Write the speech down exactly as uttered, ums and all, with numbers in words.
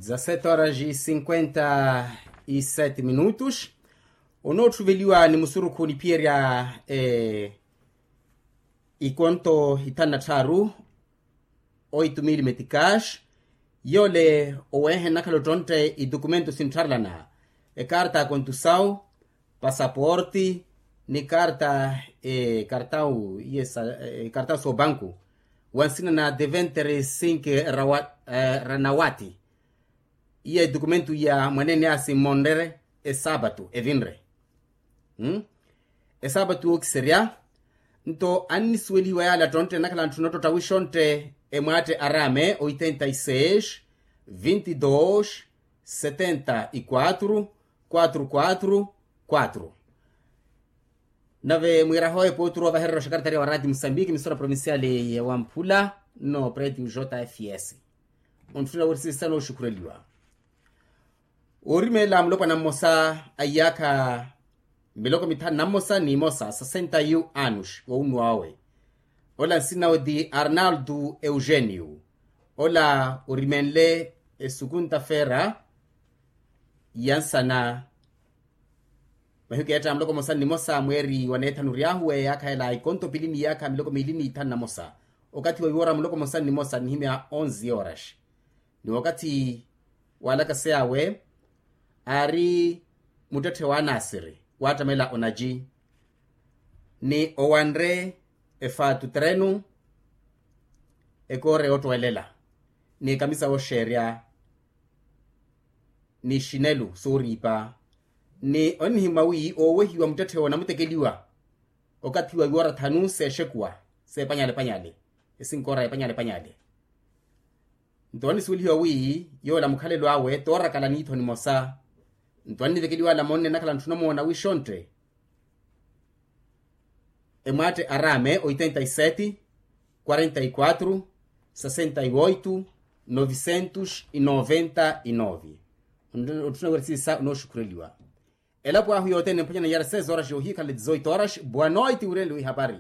Dezasete horas e cinquenta e sete minutos. Onoottuveliwa ni musurukhu niphiyerya ikonto ithanu na tthaaru, oitu mili metikaxi. Yoole oweehe nnakhala ottontte idokumento sinttharelana, ekarta ya kontusawu, pasaporti, ni karta ekartawu soobanku, wa nsina na deventere sink ranawati. Iya edokumento iya mwaneene asi mmonrere esaapatu evinre. Esaapatu yookiserya. Nto annisuwelihiwa yaala ttontte nnakhala ntthuna ottotta wixontte, emwaatte araame oitenta e seis, vinte e dois, setenta e quatro, quatro quatro quatro. Nave mwiiraha oyo epooturu ovahererya oxakaratariya wa raati musambiki emisora provinciali ya wamphula, no preti ujota fs. Ontthuna woorisisisa nooxukhureliwa. Oorimeela mulopwana mmosa a iyaakha miloko mithanu na mmosa ni imosa sasenta yu anus wowunnuwa owe. Ola nsina owe ti arnaldo eugenio. Ola orimenle esukunta fera ya nsana. Mahiku keetta muloko mmosa ni mmosa mweeri wa neethanu oryaahuwe yaakha ela ikonto pili ni yaakha miloko miili ni ithanu na mmosa. Okathi wa iwoora muloko mmosa ni mmosa nihimya onze horas. Ni wakathi waalakaseya awe aari muttetthe wa anasiri waattamela onaji, ni owanre efaatu trenu, ekoora yoottwelela, ni ekamisa wooxeerya, ni xinelu sooriipa. Ni onnihimwa wi oowehiwa muttetthe owo onamutekeliwa okathi wa iwoora thanu seexekuwa, seepanyale panyale, esinkoora eepanyale panyale. Nto onnisuwelihiwa wi yoola mukhalelo awe toorakala niitho nimosa. Nto annivekeliwa ala monne nnakhala ntthuna omoona wixontte, emwaatte araame oitenta e sete, quarenta e quatro, sasenta e oito, novicentos e noventa e nove. Otthuna wira siisa onooxukhureliwa. Elapo ahu yothene niphwanyana yara seis horas yohikhala dezoito horas. Boa noite wureli wihapari.